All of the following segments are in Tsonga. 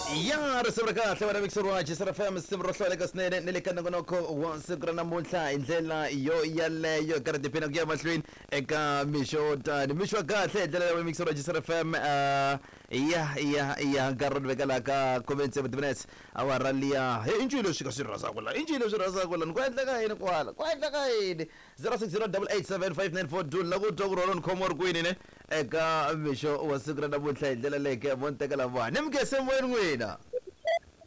Ya risimu ra kahle wena mixer wa Jisara FM, risimu ro hlawuleka swinene ni le ka nongonoko wa siku ra namuntlha hi ndlela yo yaleyo karhi tiphina ku ya mahlweni eka mixo tani mixo wa kahle hi ndlela ya mixer wa Jisara FM. Ya nkarhi ro ni veka laha ka 17 minutes awara liya. He, i ncini leswi ka swi rhandzaka la? I ncini leswi rhandzaka la? Ni ku endleka yini kwala? Ku endleka yini? 0608875942 la ku twa ku rona ni khomiwa ri kwini ne eka mixo wa siku ra namuntlha hi ndlela leke mo ni tekela vanhu ni mukese moyeni n'wina.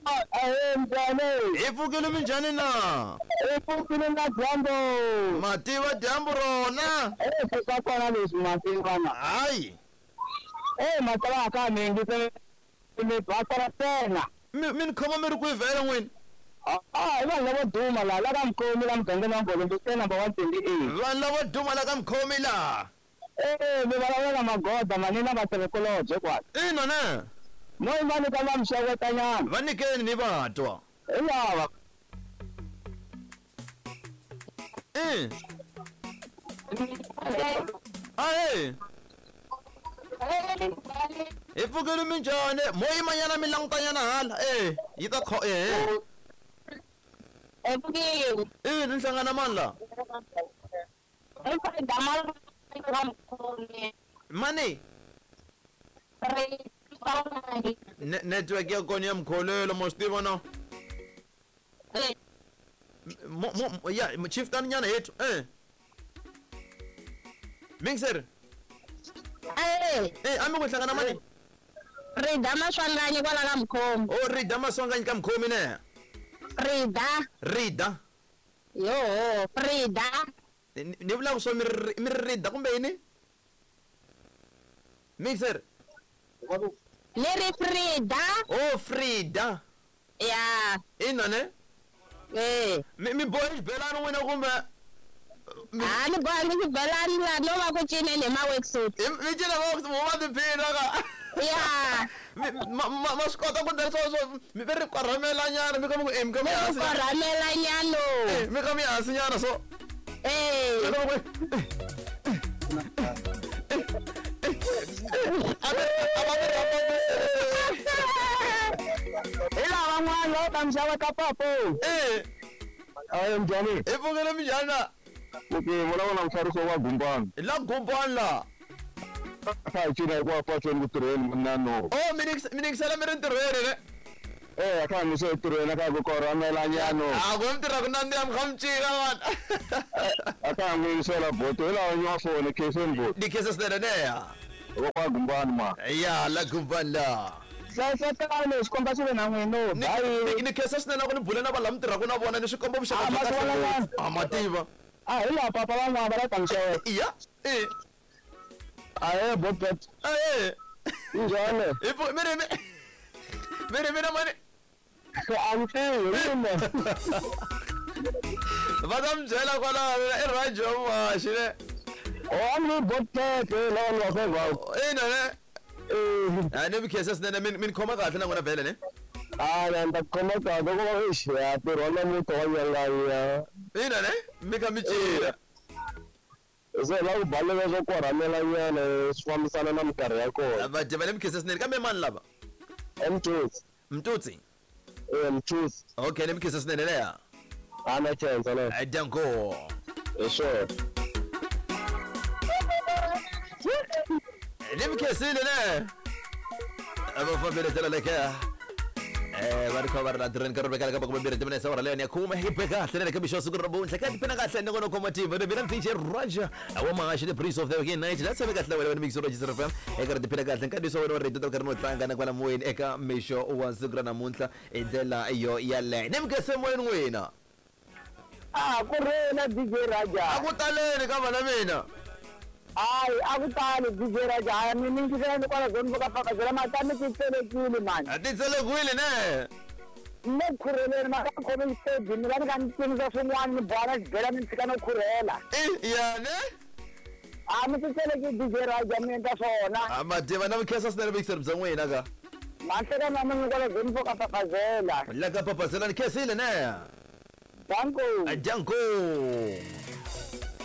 Ahe, njhani? Hi pfukile, minjhani na? I pfukile na dyambu. Mativa dyambu rona. E swa kona leswi mativana. Hayi. E matala ka mingi mi basala ntsena. Mi ni khoma mi ri kwihi vhele n'wina? A hi vanhu lavo duma laha la ka Mukhomi la mugangeni wa Ngolombe number 128. Vanhu lavo duma la ka Mukhomi laha. E mi vulavula na Magoda manina vatirhikulobye kwala. Ina ne. Mo va nyika va mixewetanyana. Va nyikeni ni va twa. Hi lava. I ahe, hi pfukile, minjhani? Mo yimanyana mi langutanyana hala e yi ta kho ehe. Epfukile. I ni hlangana mani la? Mani? Network ya kona ya mkholelo mo swi tiva no. Mo mo ya chief tani nyana hethu mixer. Eh. A mi ku hlangana mani? Rida Maswanganyi kwala ka Mukhomi. O Rida Maswanganyi ka Mukhomi ne? Rida. Rida. Yoho, Frida. Ni vula ku swo mi ri Rida kumbe yini? Mixer. Ni ri Frida. O Frida. Ya. Ina ne? Eh. Mi bohe xibelani n'wina kumbe? A ni bohangi xibelani la, no va ku cineni hi ma-worksuit. Mi cina mo va tiphina ka. Ya. Ma swi kota ku ndlela swo mi ve ri korhamela nyana mi kha mi ku mi kha mi hansi. Korhamela nyana. Mi kha mi hansi nyana so. Eh. Mi kha mi ku a va mi rhamba. Hi lava n'wana va ta mixeweta papo. Eh. Ahe, njhani? Hi pfukile, minjhani na? Okay, vulavula na muxavisi wa Gumbani. La Gumbani la. Kha hi cina hikuva patweni ku tirheni nano. O mi ningisela mi ri ntirhweni ne? Eh, a kha mi se tirheni a kha ku korhamela nyano. A ku mi tirha ku nandziha mi kha mi cina vana. A kha mi yingisela boto hi lava nyiwa foni khenseni boto. Ni khensa swinene neya. Wa kwa Gumbani ma. Ya la Gumbani la. Hlengeletani xikomba xi ve na n'wino. Ni ni khensa swinene ku ni bule na vanhu lava mi tirhaka na vona ni swi komba vuxaka Ah, bya kahle ma swi ngopfu. A ma tiva. A hi laha papa van'wana va la ta mixeweta. Ya e. Ahe bobet. Ahe. Njhani? Hi mi ri mi ri mina mani? A ni tivi mina. Va ta mi byela kwalaho i radio maxi ne. O a ni bobet lava ni va fevha. Ina ne. A ni mi khensa swinene, mi ni khoma kahle na n'wina vhele ne. A ni ta khoma kahle ku va exi ya ntirho wa namuntlha wa nyanganya. Ina ne mi kha mi cina. Se la ku baleka swo korhamela nyana swi fambisana na minkarhi ya kona. Va dya va le mi khensa swinene kambe mani lava? Mtutsi. Mtutsi. Eh, Mtutsi. Okay, ni mi khensa swinene leya. A na khensa le. Danko. Hi swona. Ni mi khensile ne. Va fambile ndlela leke va ri kha va ri la tirheni ka rivekela ka makume timinetse awara leyo ni ya khume hi be kahle ne le ka mixo siku ra namuntlha ka tiphina kahle nongonoko wa matimba ni mina DJ Raja wa Mahaxi, the prince of the weekend night la tshame kahle wena mixo Raja FM eka ri tiphina kahle nkandziyiso wa wena wa rito ta karhi no tlanga na kwala moyeni eka mixo wa siku ra namuntlha hi ndlela yo yaleyo ni mikese moyeni n'wina. A ku ri na DJ Raja. A ku taleni ka vana mina. Hayi, a ku tali DJ Raja. Hayi, mi ningisela ni kwala zone ka fakazela mata mi titselekile mani. A ti tselekwile ne. Ne khurheleni ma ka khome xiteji ni va ni ka ni cinisa swin'wana ni boha xibela ni tshika no khurhela. I ya ne. A mi titseleki DJ Raja mi endla swona. A mativa na mi khensa swinene vuyiselo bya n'wina ka. Mahlekani wa mina kwala zone ka fakazela. La ka papazela ni khensile ne. Danko. Danko.